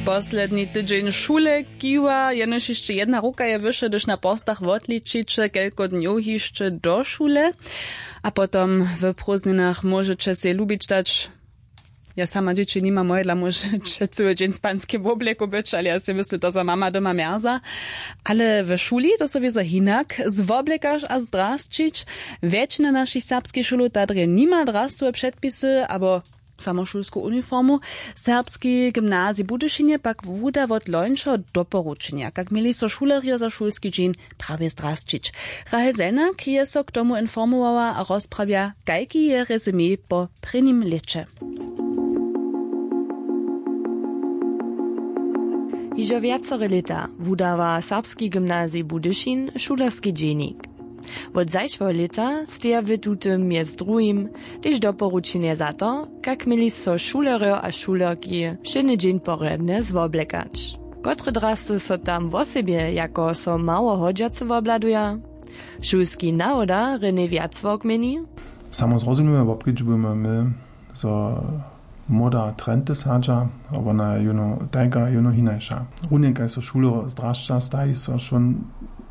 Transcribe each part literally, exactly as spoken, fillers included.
Posledni tydźeń šule kiwa, jenož hišće jedna ruka je wyše, hdyž na porstach wotličiće, kelko dnjow hišće do šule. A potom w prózdninach móžeće sej lubić dać. Ja sama dźěći nimam, mojedla móžeće cyły dźeń w spanskim woblěku być, ale ja sej myslu, to za mama doma mjerza. Ale w šuli to so wězo hinak zwoblěkaš a zdrasćić. Wjetšina našich serbskich šulow ta drje nima drascowe předpisy abo samošulsku uniformu. Serbski gymnazij w Budyšinje pak wuda wot lońšeho doporučenja, kak měli so šulerjo za šulski dźeń prawje zdrasćić. Rahel Zelnak je so k tomu informowała a rozprawja, kajki je rezumé po prěnim lěće. Hižo wjacore lěta wudawa Serbski gymnazij Budyšin šulerski dźenik. Wot zašłeho lěta steja w tutym mjez druhim tež doporučenje za to, kak měli so šulerjo a šulerki wšědny dźeń porjadnje zwoblekać. Kotre drasty so tam wosebje jako so mało hodźace wobhladuja? Šulski nawoda René Wjacławk měni: Samo zrozumimy, wobkedźbujemy my, zo moda trenty sadźa, a wona je jónu tajka, jónu hinaša. Runje kaž so šulerjo zdrašća, staji so wšón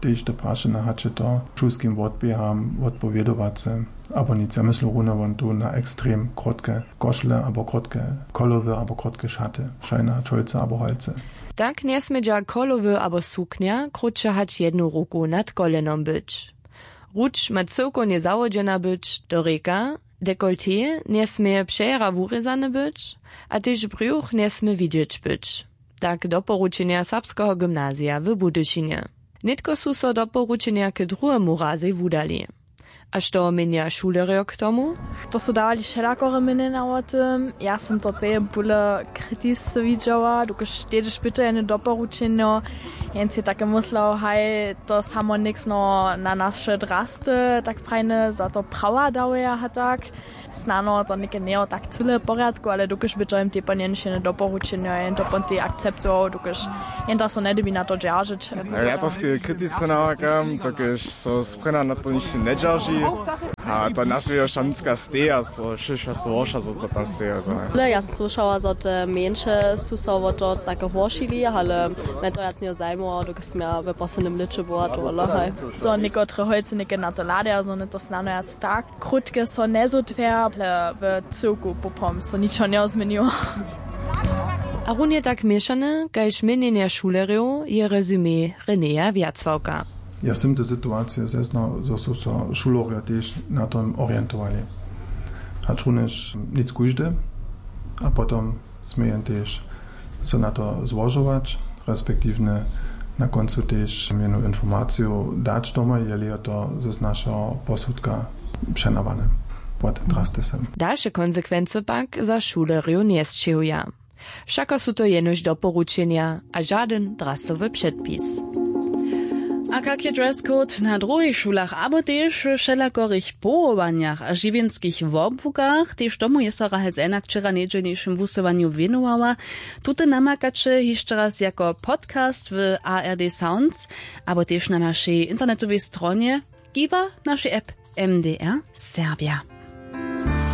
tež te prašenja, hač je to šulskim wotběham wotpowědowace abo nic. Ja myslu runje won tu na ekstrem krótke košle abo krótke kolowy abo krótke šaty, šajna, čolce abo holce. Tak njesmědźa kolowy abo suknja krótše hač jednu ruku nad kolenom być. Ruč ma cyłkownje zawodźena być do rěka, dekolté njesmě přejera wurězane być a tež brjuch njesmě widźeć być. Tak doporučenja Serbskeho gymnazija w Budyšinje. Nětko su so doporučenja k druhemu razej wudali. A što měnja šulerjo k tomu? To su dawali wšelakore měnjenja wo tym. Ja sym to teje bóle kritisce widźała, dokelž tež pytajene doporučenjo, jens je take myslał, haj, to samo něksno na naše drasty tak prajne za to prawa dawaja a tak. Snano to něke njejo tak cyle w porjadku, ale dokelž by to jim tej pon jenož jene doporučenjo, jen to pon tej akceptował, dokelž jen da so njedybi na to dźeržeć. Ja to sk-, kritisce nawakam, dokelž so sprěna na to nišće njedźerži. A to nas je šamnicka steja, so šěsćdźesat worša, zo to tam steja, zo. Ale ja słyšała, zo te mjeńše su so wo to take horšili, ale mje to wjac njejo zajmowało, dokelž smy ja w poslednim lěće była to wola, haj. Zo někotre holcy něke na to hladaja, zo one to snano wjac tak krótke so njezutwjerja, ale w cyłku poprawom so ničo njezměniło. A runje tak měšane kaž měnjenje šulerjow je rezumé Renéja Wjacławka. Ja sym te situacije zeznał, zo su so šulerjo tež na tom orientowali. Hač runjež nic kóždy, a potom smějen tež so na to złožować, respektiwnje na kóncu tež jenu informaciju dać domoj, jeli je to z našeho posudka přenawane pod drastysem. Dalše konsekwency pak za šulerjow njesćěhuja. Wšako su to jenož doporučenja a žadyn drastowy předpis. A kak je dress code na druhich šulach abo tež we wšelakorych powołanjach a žiwjenskich wobłukach? Tež tomu je so Rahel Zelnak wčera w njedźelnišim wusyłanju wěnowała. Tute namakaće hišće raz jako podcast w A R D Sounds abo tež na našej internetowej stronje, kiba našej app M D R Serbja.